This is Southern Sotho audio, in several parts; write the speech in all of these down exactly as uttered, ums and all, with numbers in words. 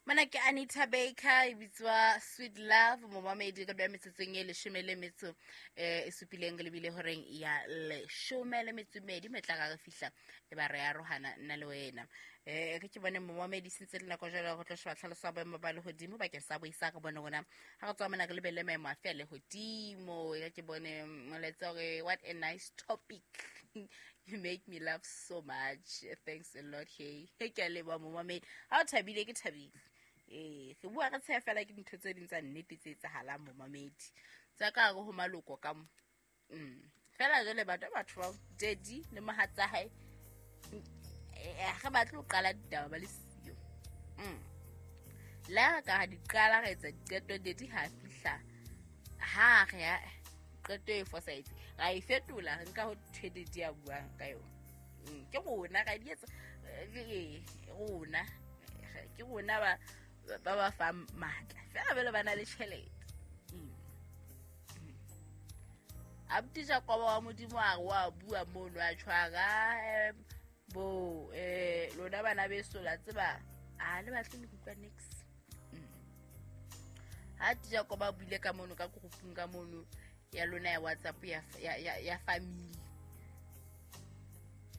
Mana ke Anita Baker e bitswa Sweet Love momamedi ka bya metsotsong e leshome le metso eh e supileng le bile horeng ya leshome le metso medi metla ga re fihla e ba re arohana nna le wena. Eh ke ke bone momamedi sentse le nako jalo go tlo sheba tlhaloso ya boemo ba lehodimo bakeng sa boisa re bone rona ha re tswa mona re lebelle maemo a fe a lehodimo. E ke bone molaetsa hore what a nice topic, you make me laugh so much, thanks a lot. Hey ke a leboha momamedi, ha o thabile ke thabile. Eh re bua re tsheya fela ke dintho tse ding tsa nnete tse etsahalang momamedi tsa ka hare ho maloko ka mo. Mm fela jwale batho batho ba daddy le mohatsa hae re batle ho qala ditaba ba le siyo. Mm la ka ha di qala re etsa diqeto daddy ha fihla ha re ya qeto e fosahetse ra e fetola re nka ho thwe daddy a buang ka yona. Mm ke rona ra di etsa eh rona ke rona ba ba ba fa matla fela bele ba na le tjhelete. Mm Abuti Jakobo wa Modimo a re wa bua mono a tshwara bo eh lona bana beso la tseba a le batle le kutlwa next. Mm ha Jakobo a buile ka mono ka groupung ka mono ya lona ya WhatsApp ya ya ya family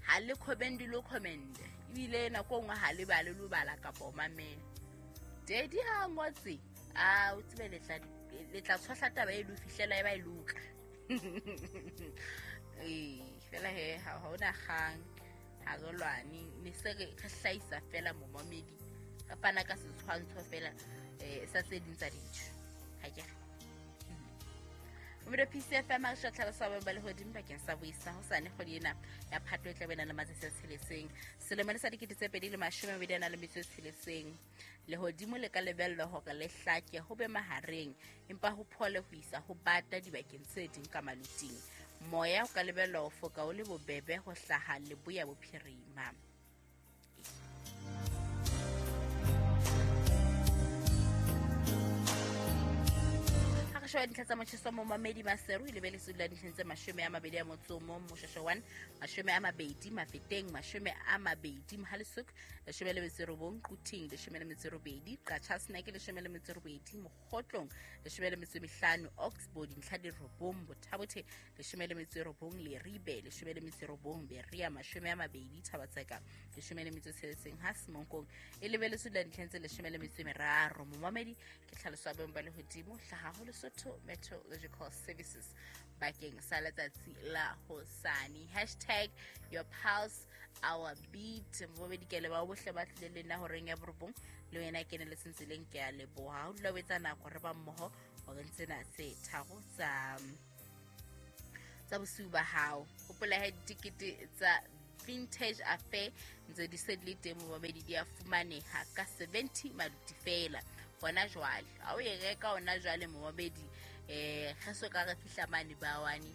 ha le comment lo comment ebile nako nngwe ha le bale lo bala kapa o mamela. Daddy ha ngotse a o tsebe letla letla tshwahla taba e lo fihlela e ba e loka. Eh fela he ha hona kgang ha re lwane ne se re hlahisa fela momamedi re fana ka setshwantsho fela eh sa tse ding tsa dintho ha ke re Mre P C F M a re tlhalosa ba lehodimo bakeng sa boisa ho sane kgwedi ena ya Phato e tla bena le matsatsi a tsheletseng selemo le sa dikete tse pedi le mashome a mabedi a na le metso e tsheletseng. Lehodimo le ka lebellwa hore le hlake ho be mahareng empa ho phole ho isa ho bata dibakeng tse ding ka maluting. Moya o ka lebellwa ho foka o le bobebe ho hlaha leboya bophirima. Shwa dintlha tsa motjheso momamedi Maseru e lebeletse dula dintlheng tse mashome a mabedi a motso o mong Moshweshwe one mashome a mabedi Mafeteng mashome a mabedi Mohale'shoek leshome le metso e robong Quthing leshome le metso e robedi Qacha's Nek leshome le metso e robedi Mokgotlong leshome le metso e mehlano Oxbow dintlha di robong Bothabothe leshome le metso e robong Leribe leshome le metso e robong Berea mashome a mabedi Thabatseka leshome le metso e tsheletseng ha Semonkong e lebeletse dula dintlheng tse leshome le metso e meraro. Momamedi ke tlhaloso ya boemo ba lehodimo hlaha ho Lesotho Meteorological Services bakeng sa letsatsi la hosane. Hashtag your pulse our beat. Momamedi ke leboha bohle ba tlile le nna horeng ya borobong le wena ke ne le sentseleng ke a leboha. O dula o etsa nako re ba mmoho horeng tsena tse tharo tsa tsa bosiu ba hao. Hopola he ditikete tsa Vintage Affair ntse di se di le teng momamedi di a fumaneha ka seventy maluti fela hona jwale. Ha o e reka hona jwale momamedi eh re so ka re fihla mane ba wane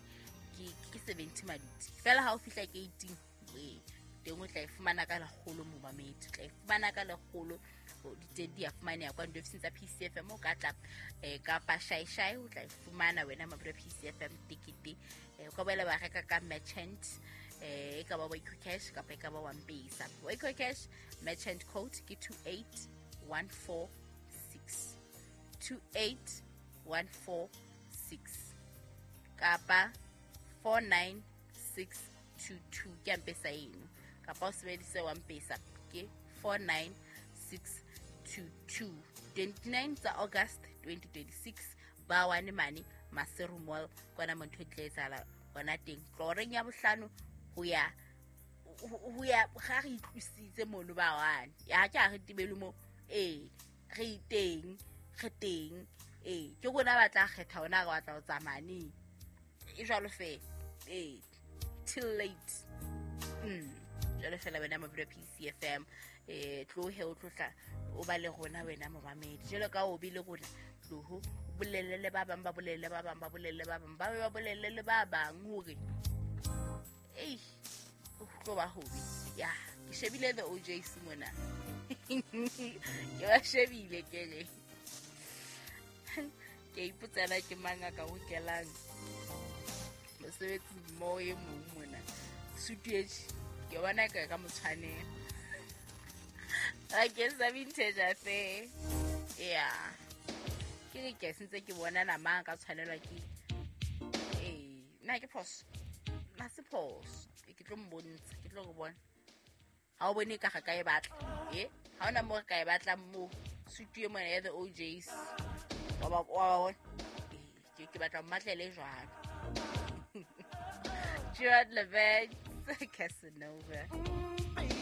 ke ke seventy maluti fela. Ha o fihla ke eighteen eh teng o tla e fumana ka lekgolo momamedi, o tla e fumana ka lekgolo. Diteng di a fumaneha kwa diofising tsa P C F M o ka tla eh kapa shai shai o tla e fumana wena mabura P C F M tikete. O ka boela ba reka ka merchant eh e ka ba Waco Cash kapa e ka ba wa M-Pesa. Waco Cash merchant code ke two eight one four six two eight one four six kapa four nine six two two ke M-Pesa eno, kapa o sebedise wa M-Pesa ke four nine six two two. twenty-nine tsa August twenty twenty-six ba wane mane Maseru Mall kwana mo ntho e tla etsahala hona teng tloreng ya bohlano ho ya ho ya ga re itlwisitse mono ba wane ya ke a re tibele mo eh re teng re teng eh ke rona ba tla kgetha hona re batla ho tsamaya neng e jwalo fela eh till late. Mm jwalo fela wena mabura P C F M eh tlohe o tlotla o ba le rona wena momamedi jwalo ka o bile rona tloho bolelle le ba bang ba bolelle ba bang ba bolelle ba bang ba ba bolelle le ba bang hore ei o tlo ba hobi ya ke shebile the O J C mona ke ba shebile ke re ke ipotsela ke mang a ka ho kelang mosebetsi mo e mong mona sutu e ke bona ka ka motshwanela. Bakeng sa Vintage Affair. Yeah. Ke re ke sentse ke bona nama ka tshwanelwa ke eh nna ke phoso. Na se phoso. Ke tlo mbontsha, ke tlo go bona. Ha o bone ka ga ka e batla. Eh? Ha ona mo re ka e batlang mo. Sutu e mona ya the O Js. Wa ba wa ba bona. Ke ke batla mmatlele jwalo. Gerard Levert, Casanova.